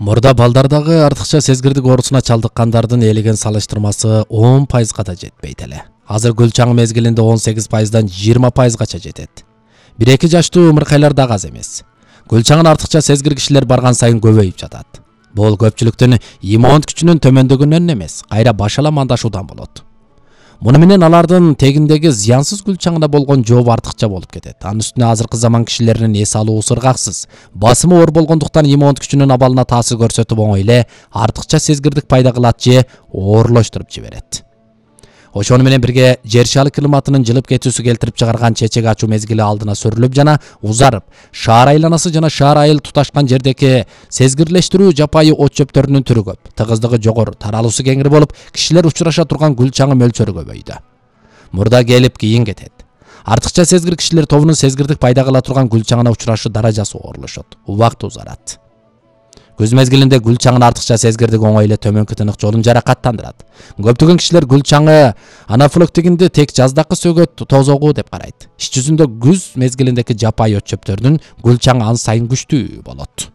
Мурда балдардагы артыкча сезгирдик оорусуна чалдыккандардын ээлеген салыштырмасы 10% да жетпейт эле. Азыр гүл чаңы мезгилинде 18%дан 20%га жетет. 1-2 жаштуу ымыркайлар дагы аз эмес. Гүл чаңын артыкча сезгир кишилер барган сайын көбөйүп жатат. Бул көпчүлүктүн иммун күчүнүн төмөндөгөнүнөн эмес, кайра башала мандашуудан болот. Муну менен алардын тегиндеги зыянсыз гүл чаңына болгон жообу артыкча болуп кетет. Анын үстүнө азыркы заман кишилеринин эс алуусу ыргаксыз. Басымы оор болгондуктан иммун күчүнүн абалына таасир көрсөтүп оңой эле артыкча сезгирдик пайда кылат же оорлоштуруп жиберет. Ошону менен бирге жер шары климатынын жылып кетүүсү келтирип чыгарган чечек ачуу мезгили алдына сүрүлүп жана узарып, шаар айланасы жана шаар айыл туташкан жердеги сезгирлештирүү жапайы от чөптөрүнүн түрү көп, тыгыздыгы жогору, таралуусу кеңири болуп, кишилер учураша турган гүл чаңы мөлчөрү көбөйдү. Мурда келип кийин кетет. Артыкча сезгир кишилер тобунун сезгирдик пайда кыла турган гүл чаңына учурашы даражасы оорлошот, убакыт узарат. Күз мезгилинде гүл чаңын артыкча сезгирдик оңой эле төмөнкү тынык жолун жаракаттандырат. Көптөгөн кишилер гүл чаңы анафилактигинде тек жаздакы сөгөт тозогу деп карайт. Иш жүзүндө күз мезгилиндеги жапайы от чөптөрдүн гүл чаңы ан сайын күчтүү болот.